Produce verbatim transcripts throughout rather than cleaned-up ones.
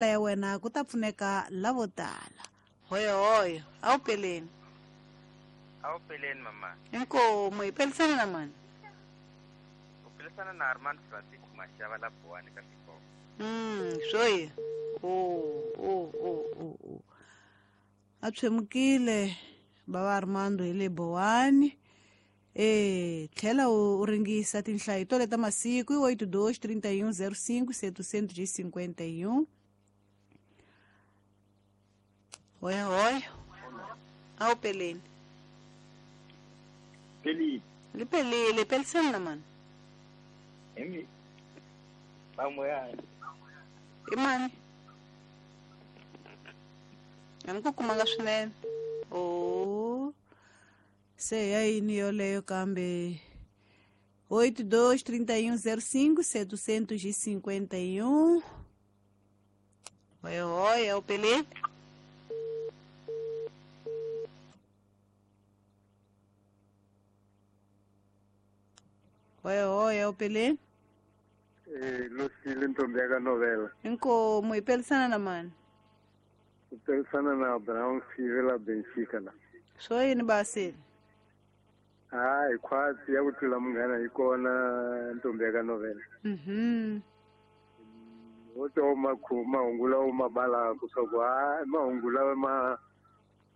Ya wena ku ta pfuneka lavo tala. Hoyo hoyo, a wu peleni. A wu peleni mama. Inkomu hi pelisana na mani? U pelisana na Armand Francisco Mashava la Buwani ka Xikolo. Mm, swo Oh, oh, oh, oh, oh. A tshwemukile bava Armando hi le Buwani. Eh, tlhela u ringisa tinhlayo to leta masiku i oito dois trinta e um zero cinco setecentos e cinquenta e um. Oi, oi. A wu peleni. Pelile. Li pelile, pelisana na mani? Emi. Pamoyani. I mani? A ni ku kumanga swinene. Oh. Se ya yini yoleyo kambe oito dois trinta e um zero cinco setecentos e cinquenta e um. Oi, oi, é o Pelé. Oi, oi, é o Pelé. Eh, Lucille Ntombiaga novela. Inkomu, ipelisana na mani? Ipelisana na Abraão Sivela Benfica la. Swo yini basile? Hayi, khwatsi ya ku tlula munghana yi kona Ntombiaga novela. Mhm. Wo to makhu mahungu lawa ma balaka swa ku ha mahungu lawa ma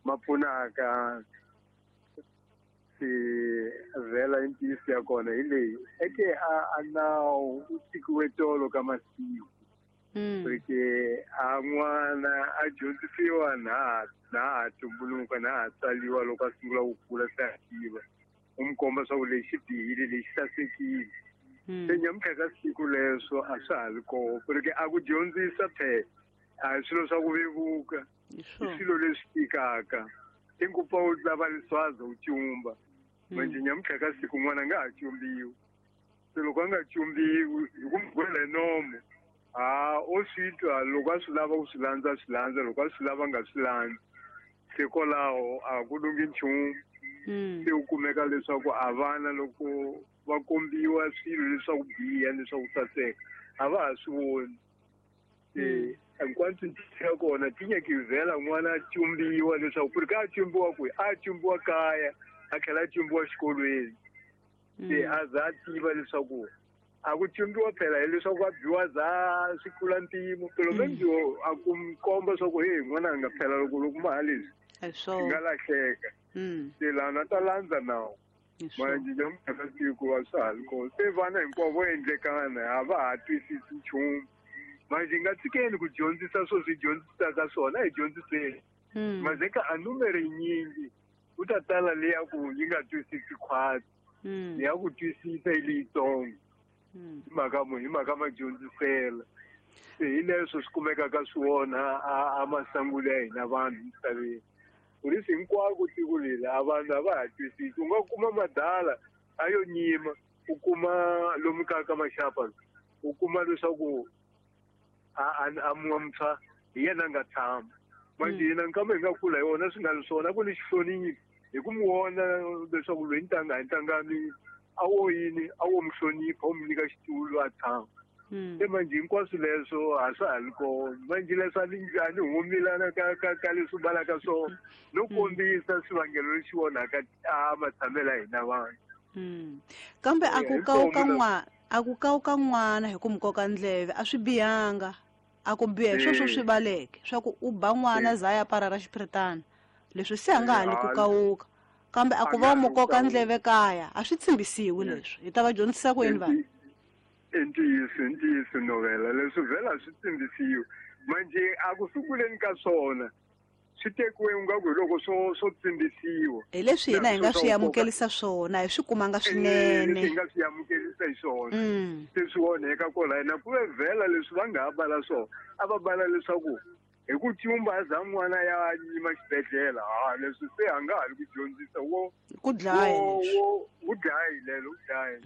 ma pfunaka si vhela i ntiyiso ya kona hi leyi eke a a nawu u tshikiwe tolo ka masiku. Porque a n'wana a dyondzisiwa na na ha tumbuluka na ha tsaliwa loko a sungula ku kula se a tiva u n'wi komba swa ku lexi bihile lexi sasekile. Se nyamuntlha ka siku leswo a swa ha ri kona porque a ku dyondzisa phela a hi swilo swa ku vevuka, i swilo leswi tikaka. Tingupa u lava leswaza u cumba manje nyamuntlha ka siku n'wana a nga ha cumbiwi. Se loko a nga cumbiwi hi ku n'wi gwela hi nomo a o swi twa loko a swi lava ku swi landza a swi landza loko a swi lava a nga swi landzi. Se kwalaho a ku lunghi nchumu. Se u kumeka leswaku a vana loko va kombiwa swilo leswaku biha leswaku saseka a va ha swi voni. Se hinkwaswo ntiyiso ya kona tinyaki vhela n'wana a cumbiwa leswaku ku ri ka a cumbiwa kwihi a cumbiwa kaya a tlhela a cumbiwa xikolweni. Se a za a tiva leswaku a ku cumbiwa phela hileswaku a biwa za swi tlula mpimo pelo menjo a ku mi komba swa ku hey n'wana a nga phela loko loko ma ha leswi swi nga lahleka. Se lana ta landza nawu manje nyamuntlha ka siku a swa ha ri kona. Se vana hinkwavo vo endlekana a va ha twisisi nchumu. Manje hi nga tshikeni ku dyondzisa swo swi dyondzisaka swona hi dyondziseni. Manje ka a numere yinyingi ku ta tala leya ku yi nga twisisi khwatsi ya ku twisisa hi leyitsongo. Hi mhaka mu hi mhaka madyondzisela. Se hi leswo swi kumekaka swi wona a masangulo ya hina vanhu misaveni. Polisi hinkwako tiko leri a vanhu a va ha twisisi. U nga kuma madala a yo nyima u kuma lomu ka ka maxapa u kuma leswaku a a muntshwa hi yena a nga tshama. Manje hina nkama hi nga kula hi wona swi nga ri swona ku ni xihlonipho hi ku n'wi vona leswaku loyi ntanga hi ntangani a wo yini a wo mi hlonipha u mi nyika xitulu a tshama. Se manje hinkwaswo leswo a swa ha ri kona. Manje leswi a ni a ni humilana ka ka ka leswi balaka swona no kombisa swivangelo leswi onhaka a matshamelo ya hina vanhu. Kambe a ku kawuka n'wana a ku kawuka n'wana hi ku mi koka ndleve a swi bihanga. A ku biha hi sweswo swi baleke swa ku u ba n'wana za ya para ra xiphiritana leswi se a nga ha li ku kawuka kambe a ku va u mu koka ndleve kaya a swi tshembisiwi leswi hi ta va dyondzisa ku yini vanhu. I ntiyiso i ntiyiso novela leswi vhela swi tshembisiwi manje a ku sunguleni ka swona swi tekiwe ingaku hi loko swo swo tsimbisiwa. Hi leswi hina hi nga swi amukelisa swona hi swi kumanga swinene. Hi nga swi amukelisa hi swona. Se swi onheka kwala na ku ve vhela leswi va nga ha bala swona a va bala leswaku hi ku cumba a za n'wana ya nyima xibedhlele ha leswi se a nga ha ri ku dyondzisa wo ku dlaya wo ku dlaya lelo ku dlaya.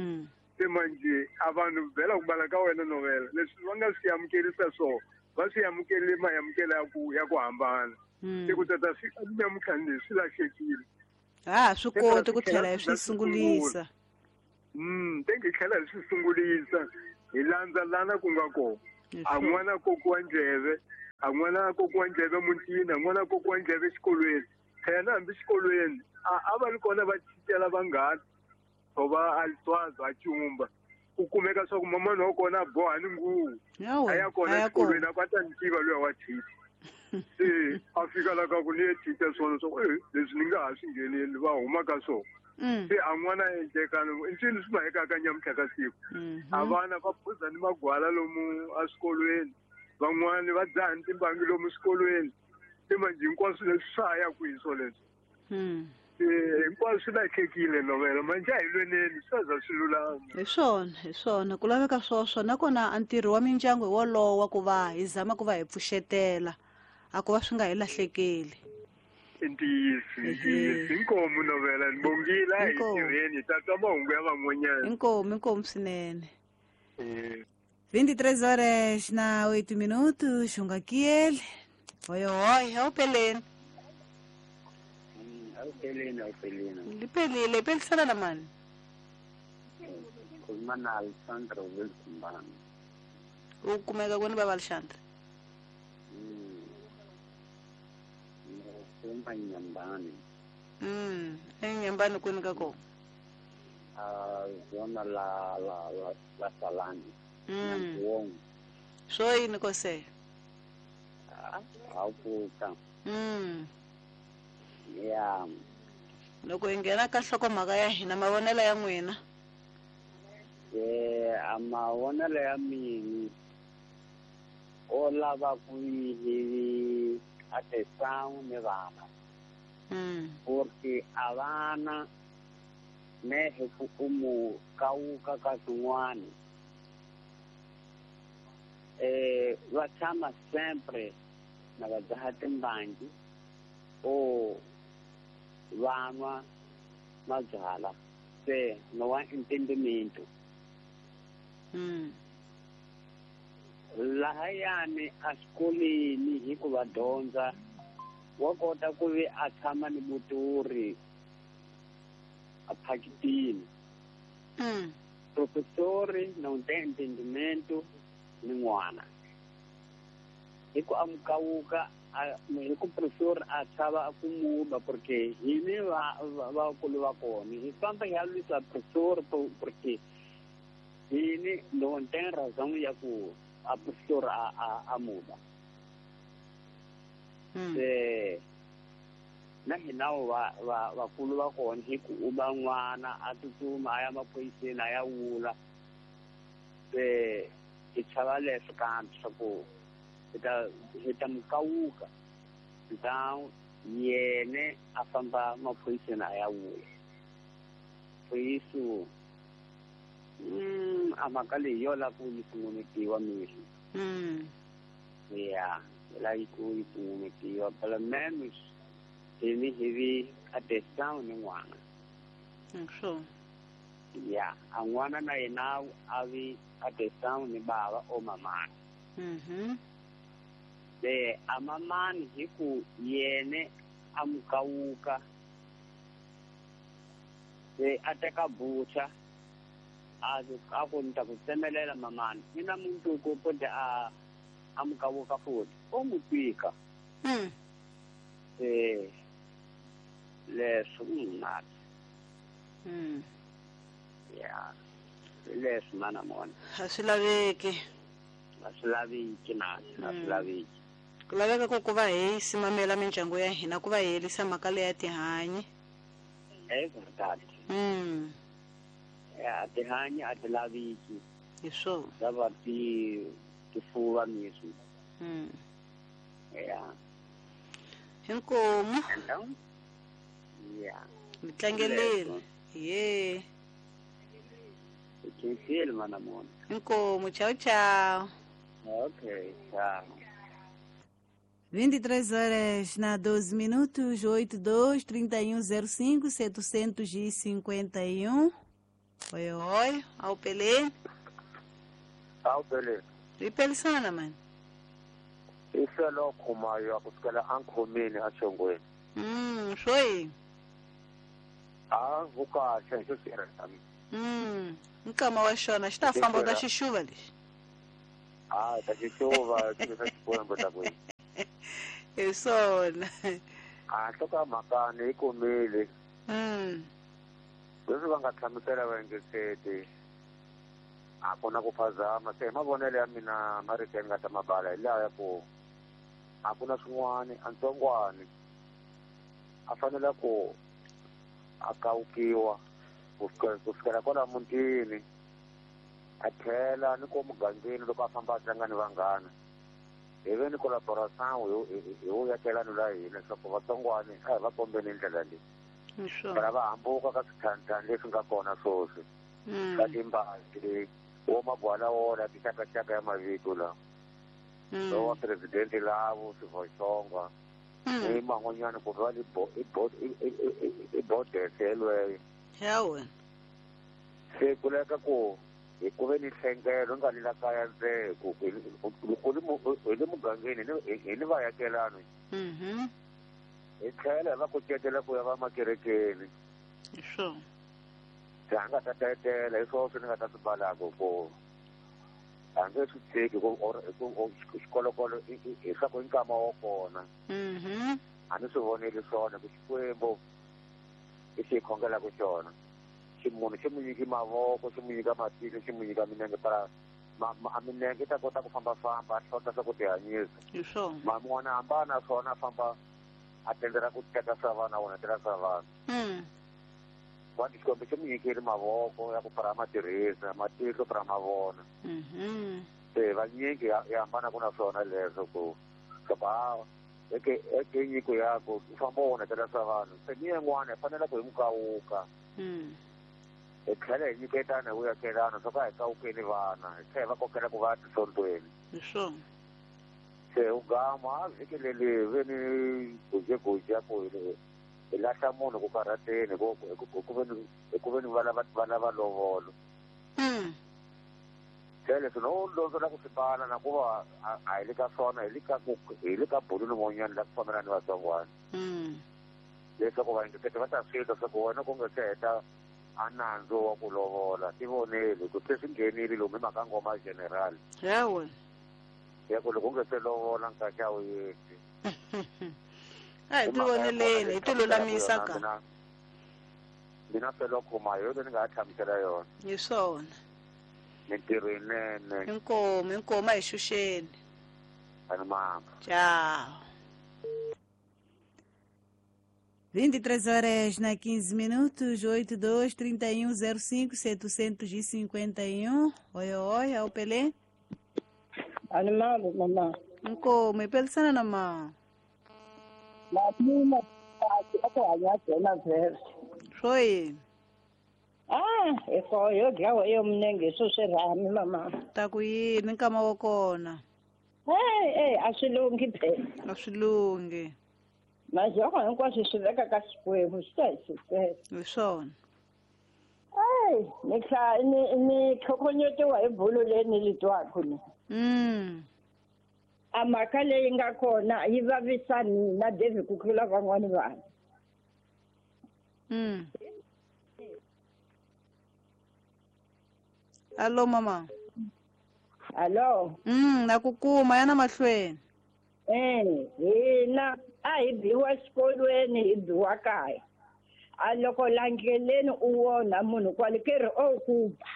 Se manje a vanhu vhela ku bala ka wena novela leswi va nga swi amukelisa swona va swi amukele maamukelo ya ku ya ku hambana. Se ku tata swi nyamuntlha leswi lahlekile. Ha swi koti ku tlhela hi swi sungulisa. Mm, tenge hi tlhela hi swi sungulisa hi landza lana ku nga kona. A n'wana kokiwa ndleve A n'wana kokiwa ndleve mutini, a n'wana kokiwa ndleve exikolweni. Phela hambi xikolweni a a va ri kona va thithela vanghana or va aliswazi a cumba. U kumeka swa ku mamani wa kona a boha ni nguvu. A ya kona exikolweni a ku a ta ni tiva luya wa thitha. Se a fika la ka ku ni ye thitha swona swa ku e leswi ni nga ha swi ngheneli va huma ka swona. Se a n'wana endleka i ncini swi mahekaka nyamuntlha ka siku. A vana va phuza ni magwala lomu eswikolweni, van'wani va dzaha ni timbangi lomu swikolweni. Se manjhe hinkwaswo leswi swa ha ya kwihi swoleswo? Se hinkwaswo swi lahlekile novela manjhe a hi lweneni swi za swi lulama. Hi swona, hi swona ku laveka swoswo nakona a ntirho wa mindyangu hi wolowo wa ku va hi zama ku va hi pfuxetela a ku va swi nga hi lahlekeli. Ntiyiso, ntiyiso. Inkomu novela ni bongile a hi tirheni hi ta twa mahungu ya van'wanyana. Inkomu, inkomu swinene. vinte e três horas na oito minutos, xunga kiel. Oi, oi, awupheleni. Awupheleni, awupheleni. Liphelile, iphelisana na mani? Khuluma na Alexandra Wilson. U kumeka kwini baba Alexandra? Khuluma Nyambani. Mm, eNyambani kwini ka kona? Ah, zona la la la la Salani. Mm. Swo yini kose? Awuka. Mm. Ya. Loko hi nghena ka nhlokomhaka ya hina mavonelo ya n'wina. Eh, a mavonelo ya mina o lava ku hi atenção ni vana. Mm. Porque a vana mehe ku umu kawuka ka swin'wana. Eh, va tshama sempre na va dzaha timbangi o vanwa mabyalwa se no wa entendimento. Mm. Lahayani exikolweni hi ku va dyondza wa kota ku vi a tshama ni muturi a phakitini. Mm. Professori não tem entendimento ni n'wana. Hi ku amukawuka hi ku professor a chava ku muba porque hini va vakulu va kona hi famba hi ya lwisa professor porque hini não tem razão ya ku a professor a a a muba. Se na hina va va vakulu va kona hi ku uba n'wana a tsutsuma a ya maphoyiseni a ya wula. Se hi chava leswo kambe swa ku hi ta hi ta mukawuka então yene a famba maphoyiseni a ya wula. Por isso mm, a mhaka leyi yo lava ku yi pfunetiwa miri. Mm. Ya, yi lava ku yi pfunetiwa pelo menos hini hi vi atenção ni n'wana. Sure. Ya, a n'wana na yena a vi atenção ni bava o mamani. Mhm. Se a mamani hi ku yene a mukawuka se a teka bucha a a ku ni ta ku tsemelela mamani ni na mundzuku pode a a mukawuka futhi o mu tika. Mm. Se leswo mnati. Mm. Ya, leswo mana mona. A swi laveki. A swi laveki na a swi laveki. Ku laveka ku ku va hi simamela mindyangu ya hina ku va hi herisa mhaka leya tihanyi. É verdade. Mm. Ya tihanyi a ti laveki. Hi swona. Lava ti tifuva mesmo. Mm. Ya. Inkomu. Então, ya. Mi tlangeleni. Ye. Khinsile mana mona. Inkomu, tchau tchau. Ok, tchau. vinte e três horas na doze minutos, oito, dois, trinta e um, zero cinco, setecentos e cinquenta e um. Oi, oi, ao Pelé. Ao Pelé. E Pelisana, mano? Isso é louco, maio, kusukela ankhomeni achongweni. Hum, foi. Ah, vukahle nje sira. Hum, nkama wa xona xi ta famba ta xixuva lexi. Ah, ta xixuva xi ta xikwembu ta kwihi. Hi swona. A nhloko ya mhaka ni yi kumile. Mm. Leswi va nga hlamusela vaengeteti a ku na ku phazama. Se hi mavonelo ya mina marito ya ni nga ta mabala hi laha ya ku a ku na swin'wani a ntsongwani a fanele ku a kawukiwa ku fikela kwala mutini a tlhela ni ko mugangeni loko a famba a tlanga ni vanghana hi ve ni collaboration hi vuyakelani la hina leswaku vatsongwani a hi va kombeni ndlela leyi para va hambuka ka swithanthani leswi nga kona sweswi ka timbati wo magwala wona tixakaxaka ya mavito lawa lowa presidente lavo swivoxonga ni man'wanyana ku va i bodese yelweyo ya wena. Se ku leka ku hi ku ve ni nhlengelo nga le la kaya ndzhe ku hi le mugangeni hi ni vayakelani hi tlhela hi va kucetela ku ya va makerekeni. Hi swona. Se a nga ta tetela hi swona swi ni nga ta swi balaka ku a nge swi tshiki ku xikolokolo hi swa ku i nkama wa kona. A ni swi voneli swona ku Xikwembu i xi hi khongelaka xona. Ximunhu xi mu nyiki mavoko xi mu nyika matihlo xi mu nyika minenge para a minenge i ta kota ku fambafamba a hlota swa ku tihanyisa. Hi swona. Ma n'wana hambana swona a famba a tendela ku teka swa vana wona tela swa vanhu. Vanhu Xikwembu xi mu nyikile mavoko ya ku para ma tirhisa matihlo para ma vona. Se vanyingi ya hambana ku na swona leswo ku swa a eke eke nyiko ya ku u famba wona tela swa vanhu. Se ni yin'wana hi fanele ku hi mu kawuka. Hi tlhela hi nyiketana hi vuyakelana swa ku a hi kawukeni vana hi tlhela hi va kokela ku va tisontweni. Hi swona. Se u gama a vhiki leri ve ni gujeguje ya ku hi lahla munhu ku karhateni hi ku ve ni hi ku ve ni va lava va lava lovolo. Se leswi no londzola ku swi bala na ku va a hi le ka swona hi le ka ku hi le ka bulu rin'wanyana la ku fambelana ni vatsongwana. Leswaku vaengeteti va ta swi twa swa ku wena ku nga se heta a nandzu wa ku lovola ti voneli ku se swi nghenile lomu hi mhaka ngoma general. Ya wena. Ya ku loko u nga se lovola nkaxa wu yeti. A hi ti voneleni hi ti lulamisa ka. Mina felo khoma hi yona ni nga ha hlamusela yona. Hi swona. Mintirho yinene. Inkomu inkomu a hi xuxeni. Ani mama. Tchau. vinte e três horas na quinze minutos, oito dois, trinta e um, zero cinco, setecentos e cinquenta e um. Oi, oi, é o Pelé. Animalo, mamã. Nkomo, ipelisana na mama. Mamina, Foi. Ah, eu dlawa eu mnenge sosirami mama. Ta ku yini nkama wa kona? Hey, hey, a swi lunghi phela. A swi lunghi. Mazoko hinkwaswo swi veka ka Xikwembu swi ta hi sukela. Hi swona. Hey, ni hla ni ni tlhokonyetiwa hi bulu leyi ni li twaka ni. Mm. A mhaka leyi nga kona yi vavisa mina David ku tlula van'wani vanhu. Mm. Allo mama. Allo. Mm, na ku kuma yana mahlweni. Eh, hina a hi biwa xikolweni hi biwa kaya. A loko la ndleleni u wona munhu kwale ke ri o ku ba.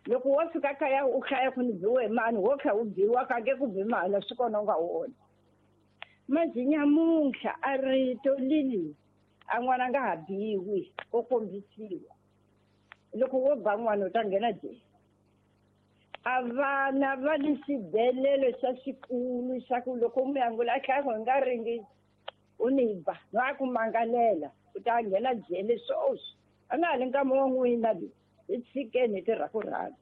Loko wo fika kaya u hlaya ku ni biwe mani wo kha u biwa ka nge ku bi mani swi kona u nga wona. Manje nyamuntlha a rito lili a n'wana nga ha biwi o kombisiwa. Loko wo ba n'wana u ta nghena jele. A vana va ni xidelelo xa xikulu xa ku loko mi angula a hlaya ku hi nga ringisi u ni ba no a ku mangalela u ta nghena jele swoswi. A nga ha li nkama wa n'wina lowu hi tshikeni hi tirha ku rhandza.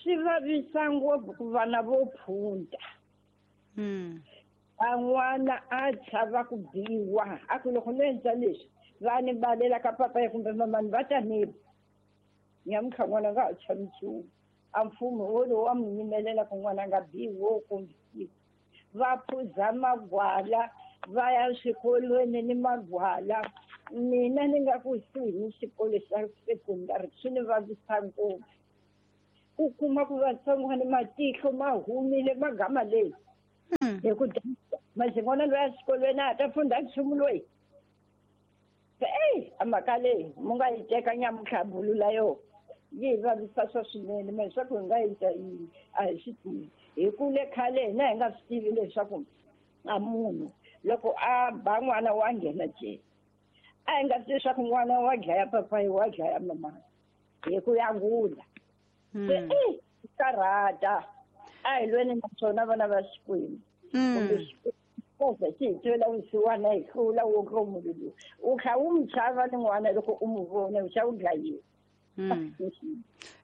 Swi vavisa ngopfu ku vana vo phunta. A n'wana a chava ku biwa a ku loko no endla leswi va ni balela ka papa ya kumbe mamani va ta ni ba. Nyamuntlha n'wana a nga ha chavi nchumu. A mfumo wolowo wa mu yimelela ku n'wana a nga biwi wo kombisiwa. Va phuza magwala va ya swikolweni ni magwala. Mina ni nga kusuhi ni xikolo xa sekondari swi ni vavisa ngopfu. U kuma ku vatsongwana matihlo ma humile magama leyi Hi ku maxin'wana loyi a xikolweni a ta funda nchumu loyi. Eyi a mhaka leyi mu nga yi teka nyamuntlha bulula yo yi hi vavisa swa swinene me leswaku hi nga endla yini a hi swi tivi. Hi kule khale hina hi nga swi tivi leswaku a munhu loko a ba n'wana wa nghena jele. A hi nga swi leswaku n'wana wa dlaya papayi wa dlaya mama hi ku yangula. Se eyi karhata a hi lweni na swona vana va Xikwembu. Kumbe Xikwembu xi hi twela vusiwana hi hlula wo munhu lowu. U kha u n'wi chava ni n'wana loko u n'wi vona u xa u dlayiwa.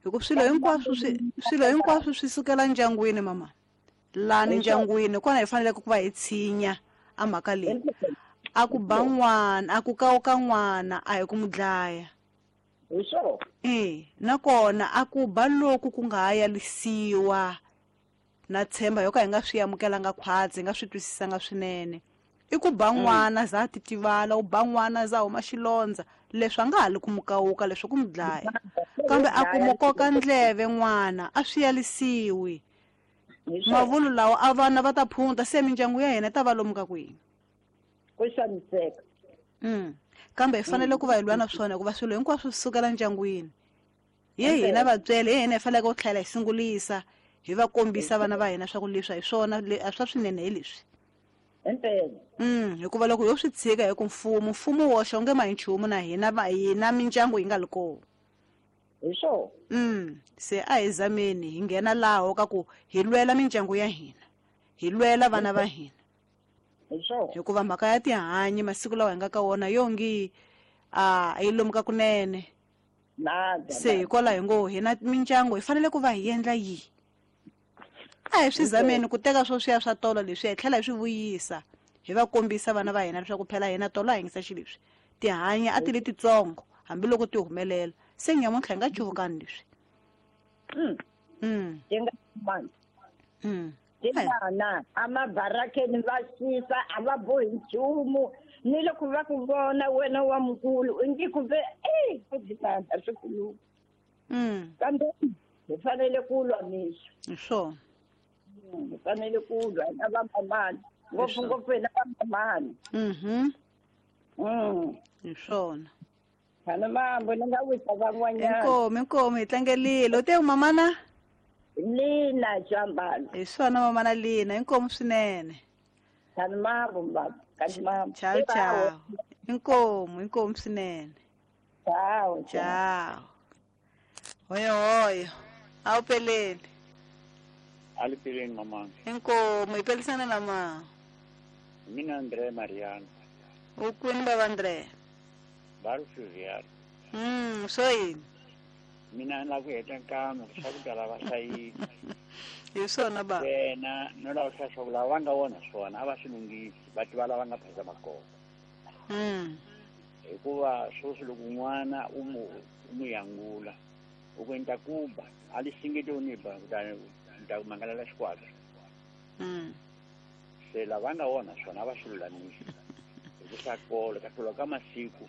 Hi ku swilo hinkwaswo swi swilo hinkwaswo swi sukela ndyangwini mama. Lani ndyangwini kona hi faneleke ku va hi tshinya a mhaka leyi. A ku ba n'wana, a ku kawuka n'wana, a hi ku n'wi dlaya. Hi swona. Eh, nakona a ku ba loku ku nga ha yalisiwa na tshemba yo ka hi nga swi amukelanga khwatsi, hi nga swi twisisanga swinene. I ku ba n'wana za titivala, u ba n'wana za huma xilondza, leswi a nga ha li ku mu kawuka leswi ku mu dlaya. Kambe a ku mu koka ndleve n'wana, a swi yalisiwi. Mavulu lawa a vana va ta phunta se mindyangu ya hina ta va lomu ka kwihi. Ku xaniseka. Mm. Kambe hi fanele ku va hi lwa na swona hikuva swilo hinkwaswo swi sukela ndyangwini. Ye hina vatswele, ye hina hi faneleke ku tlhela hi sungulisa, hi va kombisa vana va hina swa ku leswi a hi swona, a swa swinene hi leswi. Impela. Mm, hikuva loko yo swi tshika hi ku mfumo, mfumo woxe onge ma hi nchumu na hina va hina mindyangu yi nga li kona. Hi swona. Mm, se a hi zameni hi nghena laho ka ku hi lwela mindyangu ya hina, hi lwela vana va hina. Hi swona. Hikuva mhaka ya tihanyi masiku lawa hi nga ka wona yongi a yi lomuka kunene. Nada. Se hikwalaho hi ngo hina mindyangu hi fanele ku va hi endla yihi? A hi swi zameni ku teka swo swiya swa tolo leswi hi tlhela hi swi vuyisa, hi va kombisa vana va hina leswaku phela hina tolo a hi yingisa xileswi. Tihanyi a ti li titsongo hambiloko ti humelela. Se nyamuntlha hi nga cuvukani leswi. Mm. Mm. Ti nga mani. Mm. Tingana a mabarakeni va xisa a va bohi nchumu ni loko va ku vona wena wa mukulu u nge kumbe e ku tingana swi khuluka. Mm. Kambe hi fanele ku lwa mixo. Hi swona. Hi fanele ku lwa na vamamani ngopfungopfu hina vamamani. Mhm. Mm. Hi swona. Khana mambo ni nga wisa van'wanyana. Inkomu, inkomu hi tlangelile. U te mamana? Lina Jambalo. Hi swona mamana Lina, inkomu swinene. Khana mambo baba, khana mambo. Ciao ciao. Inkomu, inkomu swinene. Ciao ciao. Hoyo hoyo. Awupeleni. Alipeleni mama. Inkomu ipelisana na ma. Mina Andre Mariano. Ukwini baba Andre? Baru Fluvial. Mm, so yini? Mina na ku heta nkama swa ku tala va hlayisi. Hi swona ba. Wena no lava swa swa lava nga vona swona a va swi lunghisi va tiva lava nga phazama kona. Mm. Hikuva sweswi loko n'wana u mu u mu yangula u ku endla kuba a li singeti u ni ba kutani ni ta ku mangalela xikwata. Mm. Se lava nga vona swona a va swi lulamisi. Hi ku swa kolo ka tlula ka masiku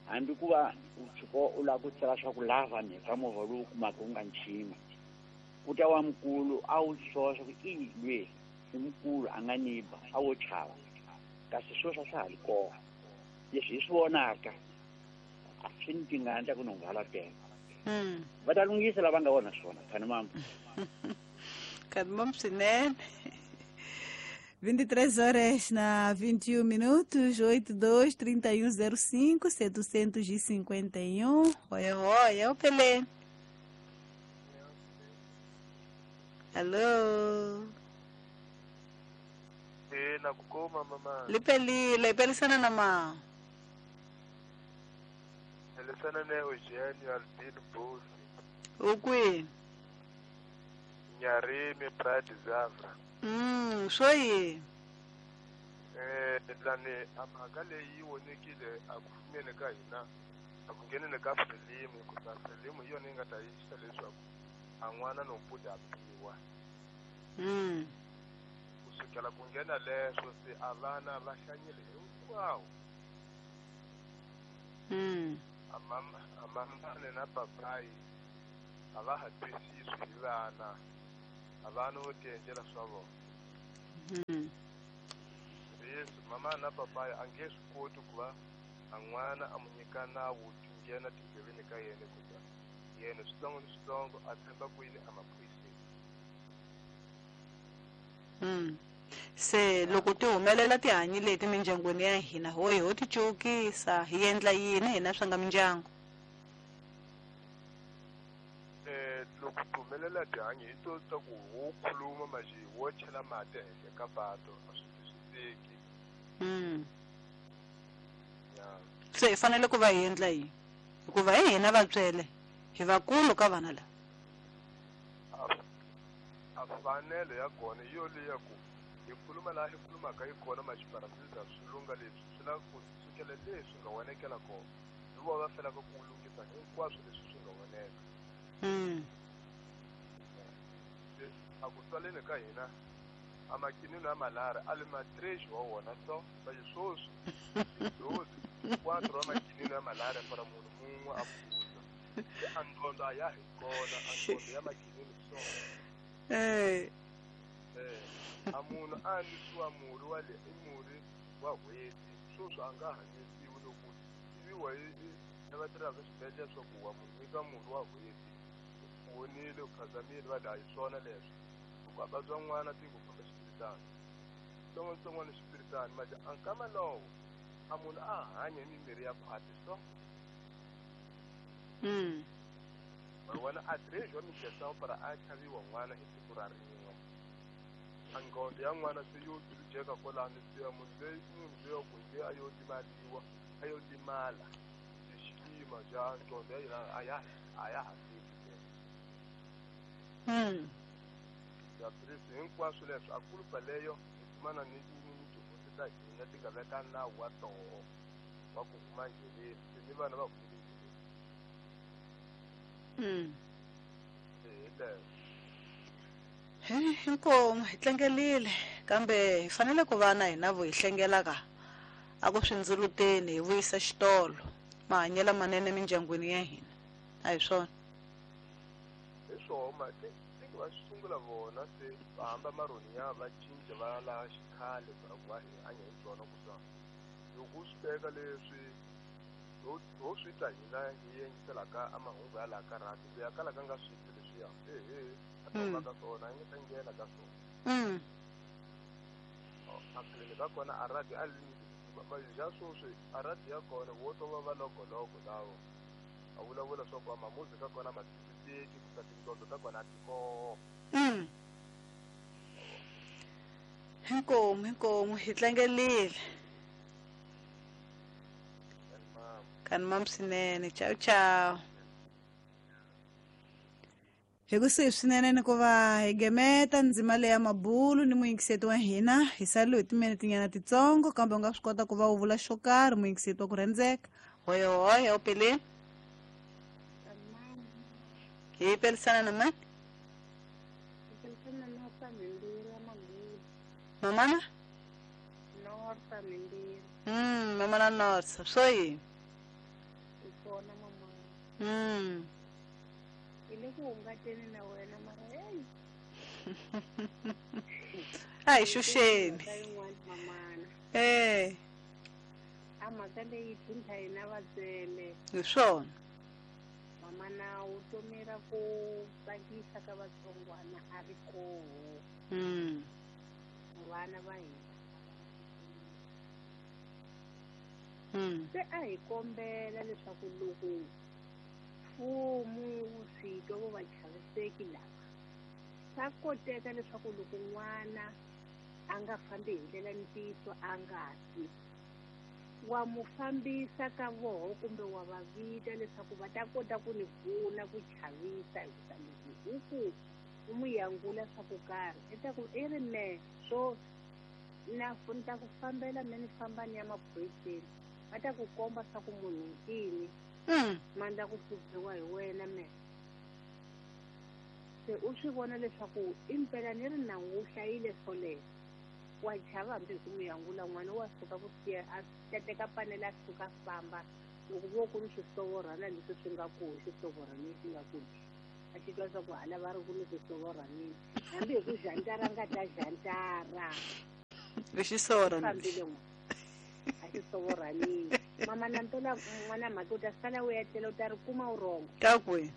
hambi ku va u tshuka u lava ku tsala swa ku lava ni ka movha lowu kumaka u nga nchima ku ta wa mukulu a wu soxa ku i lwe i mukulu a nga ni ba a wo chava kasi sweswo a swa ha li kona leswi hi swi vonaka a swi ni tingana ta ku ni hala teka. Mm. Va ta lunghisa lava nga vona swona khani mama. Khani mama swinene. vinte e três horas na vinte e um minutos, oito dois, trinta e um zero cinco, setecentos e cinquenta e um. Oi, oi, é o Pelé. Alô? E na kukoma mama. Lipelile, ipelisana na ma. Elisana ne Eugenio Albino Bosi. Ukwi? Nyarimi Pride Zavra. Mm, swo yini? Eh, lani a mhaka leyi yi vonekile a ku fumeni ka hina a ku ngheneni ka Frelimo hikuva Frelimo hi yona yi nga ta yisa leswaku a n'wana no mputi a biwa. Mm. Kusukela ku nghena leswo se a vana va hlanyile hinkwawo. Mm. A mama a mamane na papayi a va ha twisisi hi vana. A vana vo tiendlela swa vona. Mama na papaya a nge swi koti ku va a n'wana a mu nyika nawu ti nghena tindleveni ka yena ku ta yena switsongo ni switsongo a tshemba kwini a maphoyiseni. Mm. Se loko ti humelela tihanyi leti mindyangwini ya hina ho hi ho ti cukisa hi endla yini hina swa nga mindyangu? Eh loko ti humelela tihanyi hi to ta ku ho khuluma manje wo chela mati ehenhla ka pato a swi twisiseki. Mm. Ya. Se hi fanele ku va hi endla yini? Hikuva hi hina vatswele hi vakulu ka vana lava. A fanele ya kona hi yo leya ku hi khuluma laha hi khulumaka hi kona maxiparafisa swi lunga leswi swi lava ku sukela leswi nga onekela kona hi vona va felaka ku lunghisa hinkwaswo leswi swi nga oneka. Mm. A ku tswaleni ka hina a makinino ya malari a le matrexi wa wona so vaye swoswi dozi quatro wa makinino ya malari para munhu mun'we a phuza se a ndondo a ya hi kona a ndondo ya makinino so. Eh. Eh, a munhu a nwisiwa murhi wa le i murhi wa n'hweti swoswi a nga hanyisiwi loko tiviwa hi lava tirhaka swibedhlele swa ku wa munhu nyika murhi wa n'hweti u vonile u khazamile va laha hi swona leswo loko a vabya n'wana tiko famba xipiritani tsongotsongwana xipiritani manje a nkama lowo a munhu a hanya hi mimirhi ya khwati so. Mm. Ma vona a trexi wa minjhesawu para a chaviwa n'wana hi siku ra rin'we a nghondo ya n'wana se yo jeka kwalano se ya munhu loyi munhu loyi ku nge a yo limaliwa a yo limala se xiyima xa nghondo ya yena a ya a ya ha fiki. Mm. Ya presi hinkwaswo leswi a kulupa leyo hi kumana ni ni tihosi ta hina ti nga veka nawu wa toho wa ku huma ndleleni se ni vana va humile ndleleni. Mm. Hi leswo. He inkomu hi tlangelile kambe hi fanele ku va na hina vo hi hlengelaka a ku swi ndzuluteni hi vuyisa xitolo mahanyelo manene mindyangwini ya hina a hi swona. Hi swona ti ti va sungula vona se va hamba marhoni ya va cinca va laha xikhale para ku va hi hanya hi byona ku sa loko u swi teka leswi ho ho swi twa hina hi yingiselaka a mahungu ya laha ka rhadi ku ya kala ka nga swi twi leswiya ehe a ta huma ka swona a nge ta nghena ka swona. Mm. A khaleni ka kona a rhadi a ja swoswi a rhadi ya kona wo to va va logologo lawo a vulavula swa ku a mamuzi ka kona ma twisiseki ku ta tinqondo ta kona a ti koho. Mm. Inkomu inkomu hi tlangelile. Kani mam swinene ciao ciao. Hi kusuhi swinene ni ku va hi gemeta ndzima leya mabulu ni muyingiseti wa hina hi saliwe hi timinete titsongo kambe u nga swi kota ku va u vula xo karhi muyingiseti wa ku rhandzeka. Hoyo hoyo upele. Hi pelisana na mani? Mamana? Norsa Mindiri. Mm, mamana Norsa. Swo yini? Kona mama. Mm. Hi le ku hungateni na wena mara hey. A hi xuxeni. Mamana. Eh. A mhaka leyi tlhontlha hina vatswele. Hi swona. Mamana vutomi ra ku tsakisa ka vatsongwana a ri koho. Mm. Vana va hina. Mm. Se a hi kombela leswaku loko mfumo wu swi twa vo va chaviseki lava swa koteka leswaku loko n'wana a nga fambi hi ndlela ntiyiso a nga twi wa mu fambisa ka voho kumbe wa va vita leswaku va ta kota ku ni pfuna ku chavisa hikuva loko u ku u mu yangula swa ku karhi i ta ku i ri me swo na ni ta ku fambela me ni famba ni ya maphoyiseni va ta ku komba swa ku munhu ncini Mm. mandla ku hluphiwa hi wena me se u swi vona leswaku impela ni ri nawu wu hlayile swoleswo wa chava hambi hi ku mu yangula n'wana wa suka ku siya a ta teka panele a suka a famba loko vo ku ri swisovorhana leswi swi nga koho xisovorhana lexi nga kona a xi twa swa ku hala va ri ku ni swisovorhanini hambi hi ku jantara nga ta jantara Lexi sovorhana fambile n'wana. swisovorhanini mama na mpela n'wana mhaka u ta sala u etlela u ta ri kuma vurhongo ka kwihi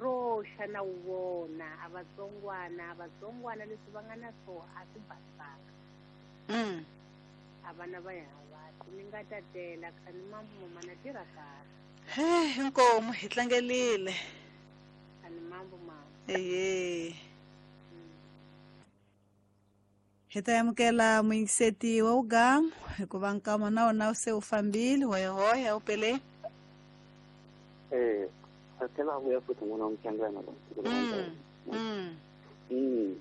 ro xa na wu vona a vatsongwana a vatsongwana leswi va nga na swona a swi basanga mm. a vana va ya ni nga tatela khani mambo mama na tirha kahle he inkomu hi tlangelile khani mambo mama eye hi ta amukela muyingiseti wa ugamu hikuva nkama na wona se wu fambile hoyahoya u pele eh a tlhela a vuya futhi n'wana wa Mchangana lo mm mm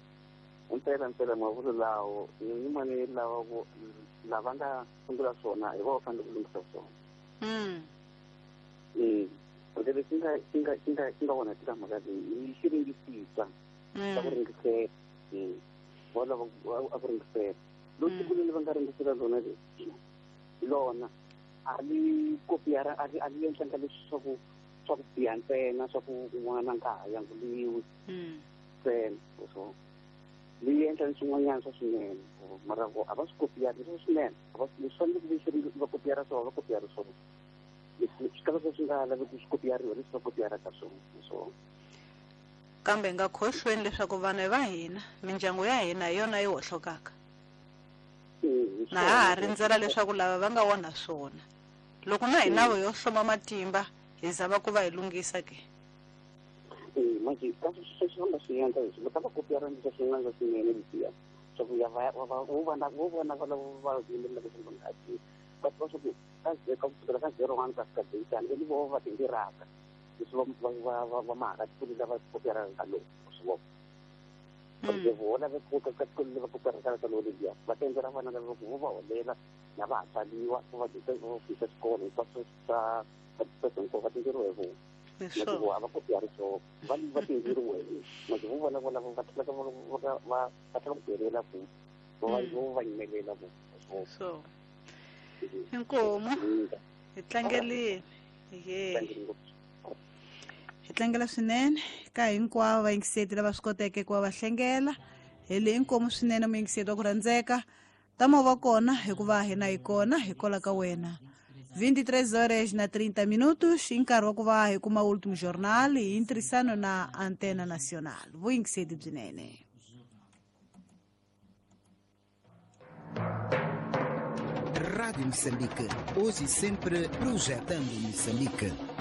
impela impela mavulu lawo ni mani lawa ku lava nga sungula swona hi va fanele ku lunghisa swona mm eh porque leswi nga xi nga xi nga xi nga vona eka mhaka leyi i xiringisisa xa ku ringisela va lava a ku ringisela loko siku leri va nga ringisela lona leri lona a li kopiyara a li a li endlanga leswi swa ku swa ku biha ntsena swa ku n'wana nga ha yanguliwi ntsena so li endla ni swin'wanyana swa swinene mara vo a va swi kopiyari leswi swinene a va leswi fanele ku vi va kopiyara swona va kopiyara swona leswi swi kala swi nga laveki swi kopiyariwa leswi va kopiyaraka swona so kambe hi nga khohlweni leswaku vanhu va hina mindyangu ya hina hi yona yi hohlokaka na ha ha rindzela leswaku lava va nga onha swona loko na hina vo yo hloma matimba hi zama ku va hi lunghisa ke manje ka sweswi va nga swi endla leswi va ta va kopiyara leswi swin'wana swa swinene leswiya swa ku ya va va vo vona vo vona va lava va yimelelaka swa va nga ti va tiva swa ku ka ka kusukela ka zero one ka fika deyitani i vo va tindiraka leswi va va va va va mahaka tikulu lava kopiyaraka ka lowu swi vona porque vo lava ku ka ka tikulu lava kopiyaraka ka lowu leliya va ta endlela vana lava ku vo va holela na va ha tsaliwa vo va dyisa vo fisa xikolo hinkwaswo swa swa va tindiriwe hi vona manje vo a va kopiyari swona va va tindiriwe manje vo vona vona va tlhela va va va va tlhela ku delela ku va vo va yimelela ku so inkomu hi tlangelile ye hi tlangela swinene ka hinkwavo vayingiseti lava swi koteke ku va va hlengela hi le inkomu swinene muyingiseti wa ku rhandzeka tama va kona hikuva hina hi kona hi kola ka wena vinte e três horas na trinta minutos i nkarhi wa ku va hi kuma Último Jornal hi ntirhisano na Antena Nacional vuyingiseti byinene. Rádio Moçambique, hoje e sempre projetando Moçambique.